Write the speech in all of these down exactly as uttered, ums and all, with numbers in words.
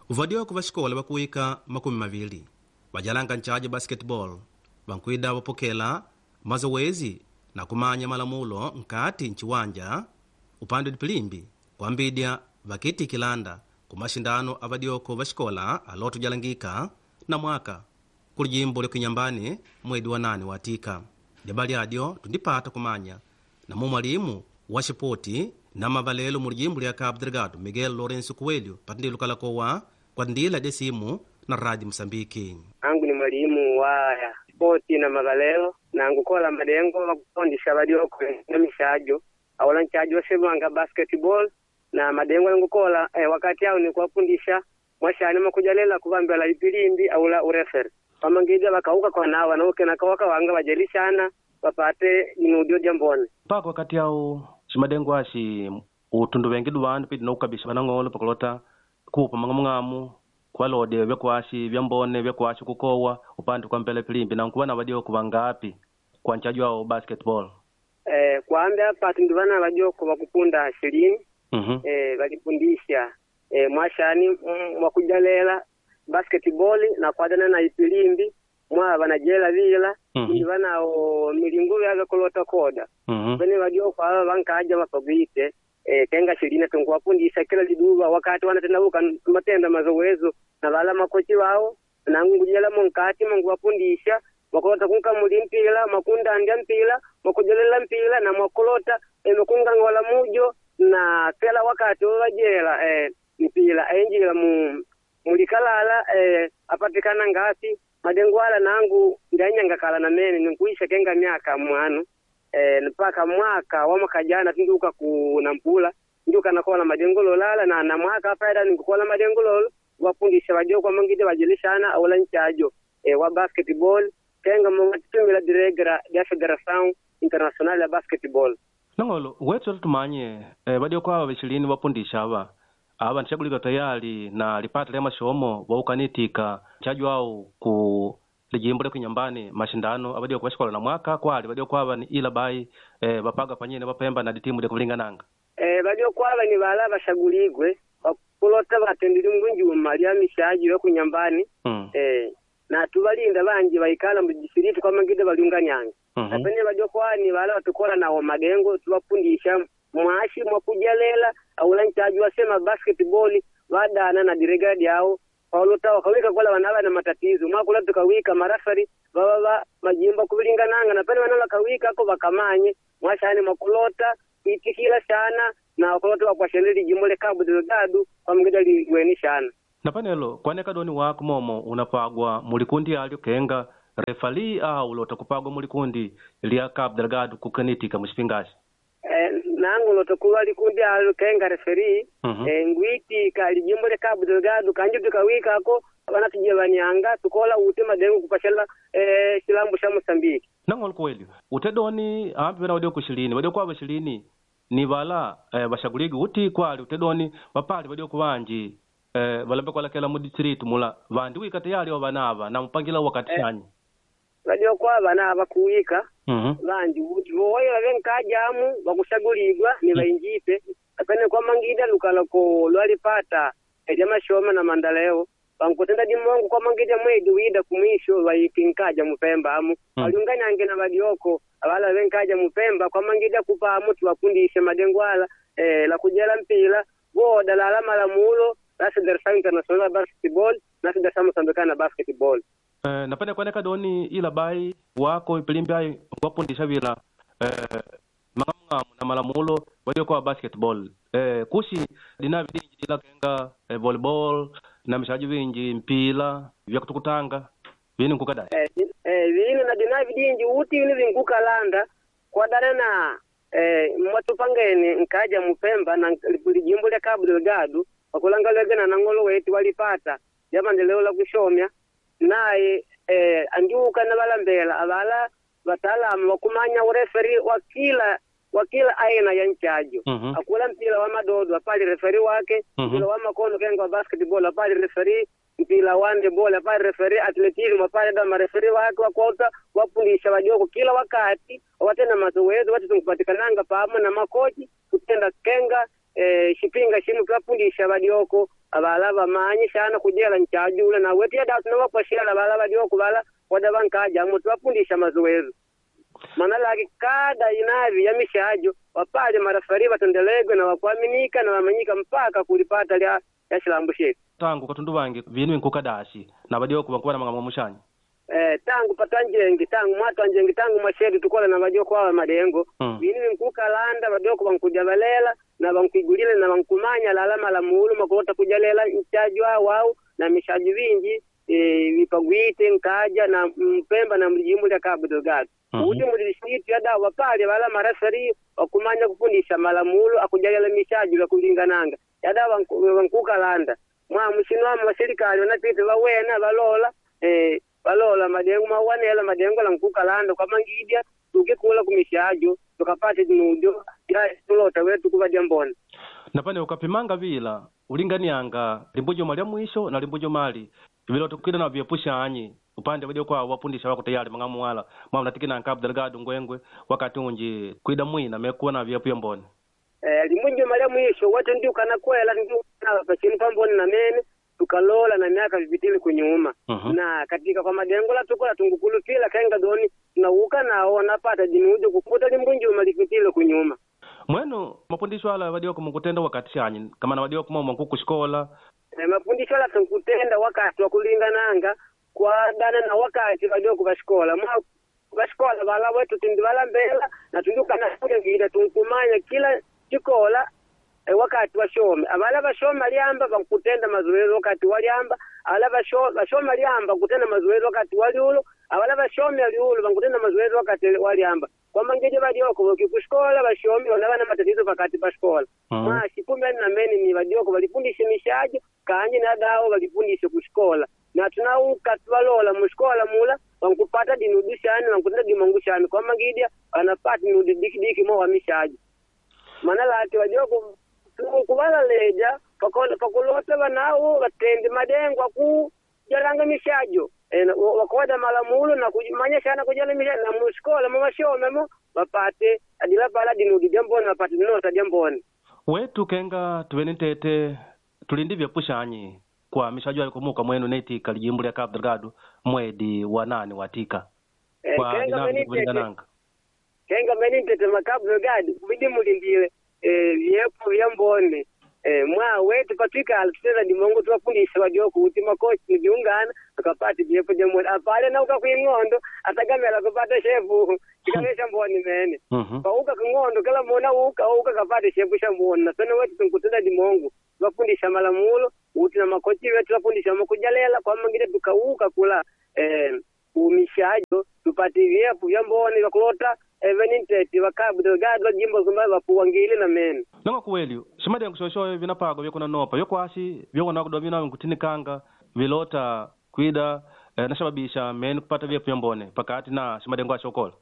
Uvadioko va xikola vakuwika makumi mavili vajalanga nchaji basketball vankwida vapokela mazowezi na kumanya malamulo nkati nchiwanja upande dipilimbi kwambidya vakiitikilanda ku maxindano avadioko va xikola aloto jalangika na mwaka kuli jimbo lya Kinyambani mwedi wa nane watika. Lyabali adyo tundipata kumanya na mwalimu wa xipoti na mavalelo mu lijimbo lya Cabo Delgado Miguel Lourenço Coelho patindilo kalakowa kwa ndila de simu na Rádio Moçambique. Angu ni mwalimu wa spoti na mavalelo na ngukola madengo wakufundisha vadioko na mishajo awala nchajo wasemanga basketball na madengo nangukola eh, wakati ao ni kuwafundisha mwashani makujalela kuvambela ipilimbi aula ureferi pamangija vakauka kwa nawa nauke nakawaka wanga vajelishana vapate inudio jambone mpaka wakati ao ximadengo axi utundu vengi vandu pidi nokukabisha vanang'olo pakulota kupa mang'amung'amu kuvalode vyakuaxi vyambone vyakuaxi kukowa upande kwa mpela pilimbi na nkuva na vadioko vangapi kwa nchaji wao basketball eh, kwambe apa tundu vana vadioko vakupunda shilini mm -hmm. eh, valipundisha eh, mwashani mm, mwakujalela basketball na kwadana na ipilimbi mwa vanajela vila Mhm. mm -hmm. vanao milingo yave kulota koda mm -hmm. vene vadioko ava vankaja vapagwite eh, kenga shilini tunkuwafundisha kila liduva wakati wanatendavuka matenda mazowezo na vala makochi wao nangujela munkati munguwafundisha mwakulota kunkamuli mpila mwakundandya mpila mwakujelela mpila na mwakulota eh, mwakungangola mujo na kila wakati wavajela eh, mpila enjila mu mulikalala eh, apatikana ngasi madengwala nangu ndanyangakala na mene ninkuisha kenga myaka mwanu eh, mpaka mwaka wa mwaka jana tindiuka ku nampula ndiuka nakola madengo lala na na mwaka afaida ninkukola madengo lolo wafundisha wajoko mangide wajelishana aula nchajo eh, wa basketball kenga mwatumila diregra ya Federação Internacional ya Basketball nang'olo wetu tumanye eh, vadioko ava vixilini vapundisha ava ava nixagulika tayali na lipata lya maxomo vaukanitika nchaji wao ku lijimbo lya Kinyambani maxindano avadioko vaxikola na mwaka kwali vadioko ava ni ila bai eh, vapaga panyene vapemba na ditimu lya kuvilingananga eh, vajoko ava ni vala vashaguligwe vakulota vatendile ngunjuma lya mishaji lya kunyambani mm. eh, na tuvalinda vanji vaikala mudisiritu kwa mangide valiunganyanga mm -hmm. napene vajokwani vala vatukola nawo madengo tuvafundisha mwashi mwakujalela aula nchaji wasema basketball vadana na diregadi yao paulota wakawika kola vanava na matatizo mwakula tukawika marafari vava va majimbo kuvilingananga napene vana vakawika ako vakamanye mwashani mwakulota kuitikila sana na wakulota wakwasheleli jimbo le Cabo Delgado kwamgida liweni shana na panelo kwaneka doni wako momo unapagwa mulikundi alyo kenga refali au ulota kupagwa mulikundi lya Cabo Delgado kukanitika muxipingaxi eh, nangu lotokuva likundi alo kenga referi mm -hmm. eh, ngwiti kali jimbo le Cabo Delgado kanji tukawikako vanatujevanianga tukola ute madengo kupashela eh, chilambo sha Mosambiki nang'olo kuwelio utedoni ambi vena wadioko xilini wadioko ava xilini ni vala eh, vaxaguligi uti kwali utedoni vapali vadioko vanji eh, valambe kualakela mu distritu mula vandi wika tayali wa vanava na mupangila wakati Eh. xanyi vadioko ava na vakuwika mm -hmm. vanji uti voya vavenkajamu vakushaguligwa ni vainjipe apene kwa mangida lukalako lwalipata lya mashoma na mandaleo vankutenda dimongo kwa mangida mwedi wida kumwisho vaikinkaja mupemba amu Mm. waliunganyange na vadioko avala venkaja mupemba kwa mangida kupa amu tuwafundishe madengwala eh, la kujela mpila voda lala malamulo la Federação Internacional Basketball na Federação Moçambicana Basketball Eh, napene kuaneka doni ila bai wako ipilimbi ayi wapundisha vila eh, mang'amung'amu na malamulo wadioko wa basketball eh, kuxi dina vidinji dila kenga eh, volleyball na mixaji vinji mpila vya kutukutanga vini nkukadai eh, eh, vino na dina vidinji uti vino vinkukalanda kwadana na eh, mwatupangeni nkaja mupemba na lijimbo lya Cabo Delgado wakulangalege na ng'olo wetu walipata lya la kushomya naye eh, andiuka na valambela avala wataalamu wakumanya ureferi wa kila wa kila aina ya nchajo mm -hmm. akula mpila wa madodo apali referi wake Mhm. mpila wa makono kenga wa basketball apali referi mpila wa handball apali referi athleticism apali da mareferi wake wakota wafundisha wajoko kila wakati watenda mazoezi wati tunkupatikananga pamo na makochi kutenda kenga eh, shipinga shimu twapundisha vadioko avala vamanyi sana kujela nchajula na wetu yada tunawapwashela vala vadioko vala wada vankaja amo twapundisha mazoezo mana laki kada inavi ya mishajo wapale marafari vatendelegwe na wakuaminika na wamanyika mpaka kulipata lya ya shilambu shetu tangu katundu vangi vinu inkukadashi na vadioko vankuva na mang'amwa mushanyi eh, tangu patwanjengi tangu mwatwanjengi tangu mwashetu tukola na vadioko awa madengo Mm. vinu vinkukalanda vadioko vankuja valela na vankuigulile na vankumanya lala malamulo makulota kujalela nchajo awau na mishajo vinji e, vipagwite nkaja na mpemba na mlijimbo lya Cabo Delgado Mhm. uti mulisitu yadawa wapale wala marafari wakumanya kufundisha malamulo akujalela mishajo vyakulingananga yadawa vanku- vankukalanda mwa mushinwamo wa serikali wanapita vawena valola eh, valola madengo mawanela madengo la nkukalanda kwamangidya tukikula kumishajo tukapata dinujo ya tulota wetu kuvadya mbona napane ukapimanga vila ulinganianga limbujuma lya mwisho na limbujuma ali vilota kwida na vyepushanyi upande vadioko awo wapundisha wako tayari mang'amu wala mwamnatikina Cabo Delgado ngwengwe wakati unji kwida mwina mekuwa na vyepu ya mbone eh, limujuma lya mwisho wetu ndiukana kwela ndiukana pachinu pamboni na mene tukalola na miaka vipitile kunyuma Mhm. na katika kwa madengo la tukola tungukulupila kenga doni tunauka nawo napata dinujo kukuta limbunjuma lipitile kunyuma mwenu mapundisho ala vadioko mukutenda wakati shanyi kama na vadioko mwa mwakukushikola e, mafundisho la tunkutenda wakati wa kulingananga kwadana na wakati vadioko vashikola mwa vashikola vala wetu tindi valambela na tundukana kulengida tunkumanya kila chikola e, wakati washome avala vashoma lyamba vankutenda mazoezi wakati walyamba avala vasho- vashoma lyamba kutenda mazoezi wakati waliulo avala vashome liulo vankutenda mazoezi wakati walyamba kwamangeje vadioko vokikushikola vashomi vana vana matatizo pakati pa shikola Mhm. mwashi kumbe na mene ni vadioko valifundishe mishajo kanje na dawo valifundishe kushikola na tunauka twalola mushikola mula vankupata dinudu shani vankutenda dimongu shani kwamangidya vanapata dinudu dikidiki mo wa mishajo mana lati vadioko kuvalaleja pakulota vanawo vatendi madengo aku jalanga mishajo e, wakoda malamulo na kumanya shana kujala mishajo na mushikola mumashomemo vapate adila pala dinudi dyamboni vapate dinota dyamboni wetu kenga tuve nitete tulindi vyepushanyi kwa mishajo ayo kumuka mwenu netika lijimbo lya Cabo Delgado mwedi wa nane watika Eh, kwa kenga dinavi mwenitete kulingananga kenga mwenitete makabu Delgado kubidi mulindile eh, vyepo vyambone eh, mwa wetu patwikala tutenda dimongo tuwafundisha vadioko kuti makochi niviungana tukapate vyepo dyambone apale nauka kwing'ondo atagamela kupata shepu chikave shamboni mene Mhm. pauka king'ondo kila mona uka uka kapate shepu shamboni nasene wetu tunkutenda dimongo tuwafundisha malamulo uti na makochi wetu tuwafundisha makujalela kwamangile tukauka kula eh, umishajo tupate vyepu vyamboni vyakulota eveninteti vakabu Delgado jimbo zumba vapuwangile na mene nonga kuweli shimadengo shoshoyo vinapago vyekunanopa vyokwasi vyokunakudomina nkutinikanga vilota kwida eh, nashababisha meni kupata vyepu vyambone pakati na shimadengo ashokola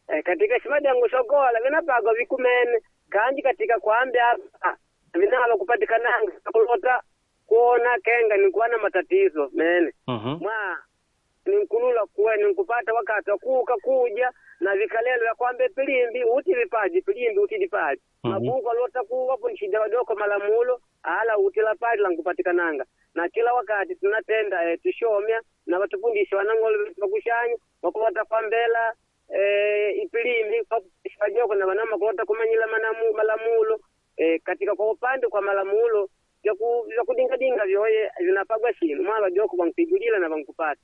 e, katika shimadengo shokola vinapagwa vikumene kanji katika kwambe apa vinava kupatikananga kulota kuona kenga nikuwa na matatizo mene Mhm. mwa ninkulula kuwe ninkupata wakati wakuuka kuja na vikalelo vya kwambe pilimbi uti vipaji pilimbi uti dipaji Mhm. mabuku alota kuwapo nshida wadoko malamulo ala uti la pali lankupatikananga na kila wakati tunatenda eh, tushomya na vatufundisha wanang'olo vetu vakushanya wakulota kwambela eh, ipilimbi vajoko na vanama kulota kumanyila manamu, malamulo eh, katika kwa upande kwa malamulo vyaku- vyakudingadinga vyoye vinapagwa shinu mwa vajoko vankuigulila na vankupata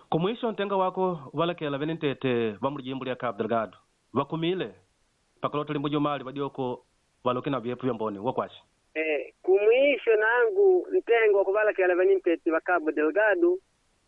kumwisho ntenga wako valekela venentete va mulijimbo lya Cabo Delgado vakumile pakulota limbo jumali vadioko valoke na vyepu vyambone wakwasi Eh, kumwisho nangu ntengo wakuvalakela vanimpeti va Cabo Delgado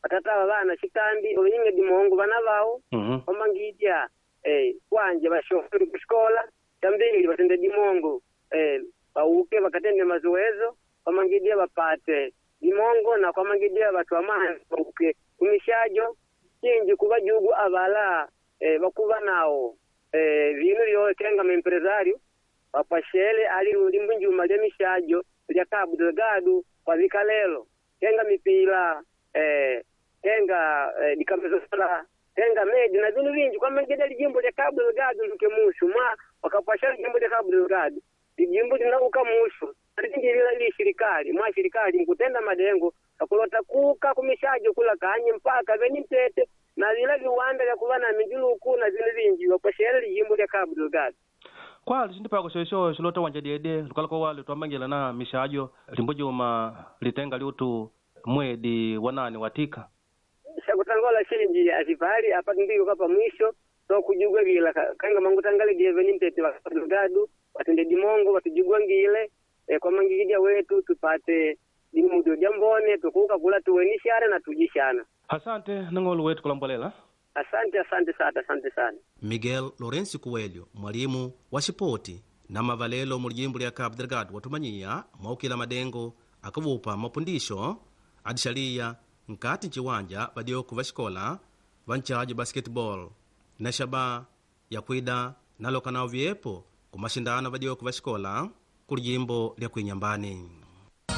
vatata va vana xitambi ovinyinge dimongo vana vawo Mhm. omangidya eh, kwanje vashoferi kuxikola xambili vatende dimongo eh, vauke vakatende mazoezo kwamangidya vapate dimongo na kwamangidya vatu vamani vauke kumishajo cinji kuva jugu avala eh, vakuva nawo eh, vinu vyotenga maempresario vapwashele ali limbunjuma lya mishajo lya Cabo Delgado kwa vikalelo tenga mipila eh, tenga eh, dikamezola tenga medi na vinu vinji kwamangida lijimbo lya Cabo Delgado nduke mushu mwa wakapwashela lijimbo lya Cabo Delgado lijimbo linauka mushu alingilila ili shirikali mwa shirikali nkutenda madengo akulota kuka kumishajo kula kanye mpaka veni ntete na vila viwanda vya kuva na minjuluku na vinu vinji vakwashele lijimbo lya Cabo Delgado kwali cintipako xoxo xilota wanja dyedye lukala kwa wali twambangila na mixajo limbujuma litenga liutu mwedi wa nane watika xakutangola xinji acipali apa ndiko pa mwisho so kujugwagila kanga mangutangalidie veni ntete wa Cabo Delgado watende dimongo watujugwangile e, kwa mangikija wetu tupate dimudo ja mbone tukuka kula tuwenishana na tujishana asante nang'olo wetu kulambolela asante asante sana asante sana Miguel Lourenço Coelho mwalimu wa xipoti na mavalelo mu lijimbo lya Cabo Delgado watumanyiya mwaukila madengo akuvupa mapundisho adixaliya nkati nciwanja vadyoku va xikola va nchajo basketball na xaba yakwida naloka nawo vyepo ku maxindano vadyoku va xikola ku lijimbo lya kuinyambani.